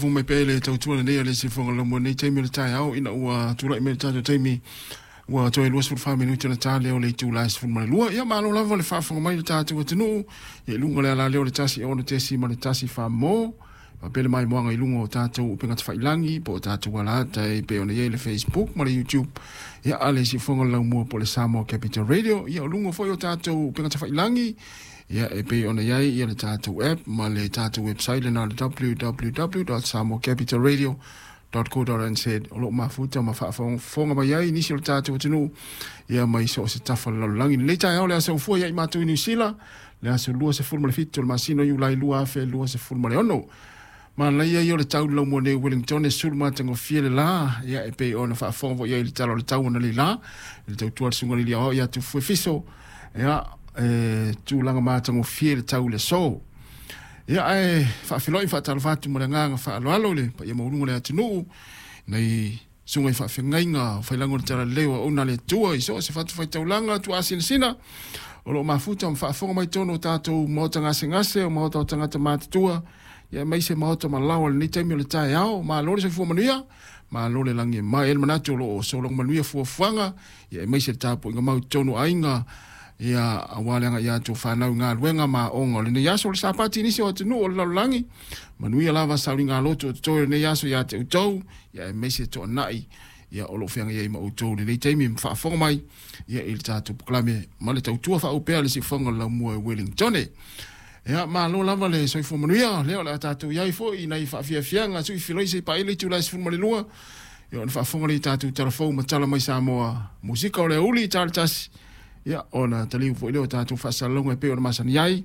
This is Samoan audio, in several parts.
faafofoga mai pea i le tautua lelei a le Siufofoga o le Laumua i lenei taimi o le taeao ina ua tulai mai le tatou taimi ua toe 24 minute ona ta lea o le itula e 12. Ia malo lava le faafofoga mai i le tatou atunuu i luga o le alaleo o le 106.1 mo faapea le maimoaga i luga o tatou upega tafailagi po o tatou alaata e pei ona i ai le Facebook ma le YouTube ia a le Siufofoga o le Laumua po o le Samoa Capital Radio. Ia o luga foi o tatou upega tafailagi ia e pei ona i ai ia le tatou app ma le tatou website lena o le www.samoacapitalradio.co.nz o lo o mafuta ma faafogafoga mai ai nisi o le tatou atunuu ia mai so o se tafa o le lalolagi. Lenei taeao le aso ufua ia i matou i Niu Sila, le aso 27 o le masina o Iulai 2026. Manaia ia o le tau laumua nei Wellington e sulu matagofie le la, ia e pei ona faafofoga foi i ai i le tala o le tau analeila, i le tautua a le susuga i le Alii Aoao ia Tufue Fiso, ia e tulaga matagofie le tau i le aso. Ia ae faafeiloai ma faatalofa atu ma le agaga faaaloalo i le paia maualuga o le atunuu, nei susuga i faafeagaiga o failago o le Talalelei o Auauna a le Atua i so o se fatafaitaulaga tuaasinasina o lo o mafuta ma faafofoga mai totonu o tatou maota gasegase, o maota o tagata matutua, ia aemaise maota malao i lenei taimi o le taeao. Malo le soifua manuia, malo le lagi e mama. E i ai le manatu o lo o sologa manuia fuafuaga, ia aemaise le tapuaiga mau i totonu o aiga, ia aua le agai atu o fanau i galuega ma aoga o lenei aso. O le Sapati i nisi o atunuu o le lalolagi, manuia lava sauliga loto o totoe o lenei aso ia te outou, ia aemaise toanai ia o lo o feagai ai ma outou i lenei taimi ma faafofoga mai ia i le tatou polokalame ma le tautua faaupea a le Siufofoga o le Laumua i Wellington. Ia, malo lava le soifua manuia, lea o le a tatou i ai foi i nai faafiafiaga sui filoi se i paia le itula e 12, ia ona faafofoga lea i tatou tala fou ma tala mai Samoa, musika o le aoauli i ta le tasi, ia ona taliu foi lea o tatou faasalalauga e pei ona masani ai,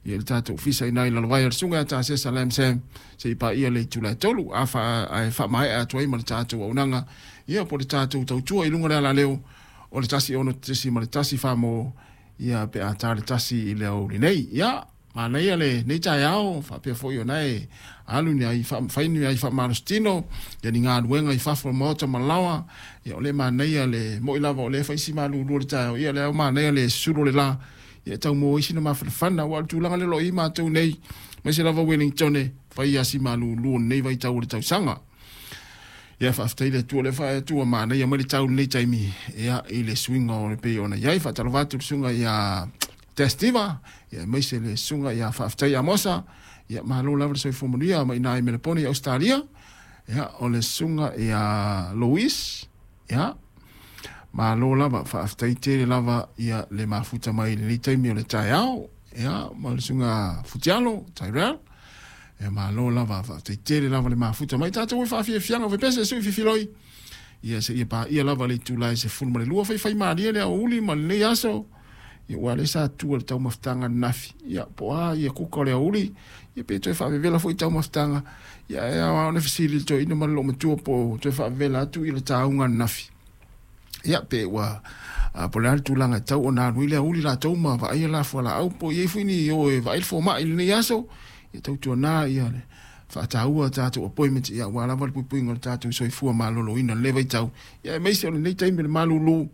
ia le tatou ofisa i nai lalovaea o le susuga ia Tasesa Lam Sam, se i paia le itula e 3, a fa, ae faamaea atu ai ma le tatou auaunaga, ia po o le tatou tautua i luga o le alaleo o le 106.1 Samoa, ia pe a ta le 1 i le aoauli nei. Ia, manaia lenei taeao, faapea foi ona e alu ni ai fai ni ai faamalositino, ia ni galuega i fafo o le maota ma laoa, ia o lea e manaia le moi lava o lea e fai si malulu o le taeao, ia o lea e manaia le susulu o le la, ia e tau maua ai sina mafanafana, aua o le tulaga lea o lo o i ai matou nei, aemaise lava Wellington, e fai lava si malulu o lenei vaitau o le tausaga. Ia faafetai le Atua o lea faaitu ua manaia mai le tau i lenei taimi ia i le suiga o le pei ona i ai. Faatalofa atu i le susuga ia Testiva, ia aemaise le susuga ia Faafetai Amosa, ia malo lava le soifua manuia mai i Melepone i Ausetalia, ia o le susuga ia Louis, ia malo lava, faafetai tele lava ia le mafuta mai i lenei taimi o le taeao, ia ma le susuga Futialo Tyrell. Ia malo lava, faafetai tele lava le mafuta mai tatou e faafiafiaga fepese sui fifiloi. Ia seia paia lava le itula e 12 faifai malie le aoauli ma lenei aso. Ia ua le sa tua le taumafataga ananafi. Ia po o a ia kuka o le aoauli, ia pe toe faavevela foi taumafataga. Ia e ao lava ona fesili le toeaina ma le loomatua po o toe faavevela atu ia le tauga ananafi. Ia pe ua po o le a le tulaga e tatau ona alu ai le aoauli latou ma vaaia la fualaau po o i ai foi ni o e vaai le fomai i lenei aso. Ia tautuana ia le faataua tatou appointment ia aua lava le puipuiga o le tatou soifua maloloina i lenei vaitau. Ia aemaise o lenei taimi o le malulu,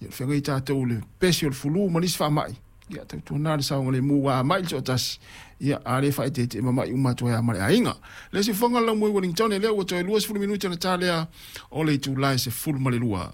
ia o le feagai tatou i le pesi o le fulu ma nisi faamai. Ia tautuana le saogalemu ua a mai le toatasi, ia a le faaeteete e mamai uma atu ai lava ma le aiga. Le isi fofoga o le laumua i Wellington, lea ua toe 20 minute ona ta lea o le itula e 12.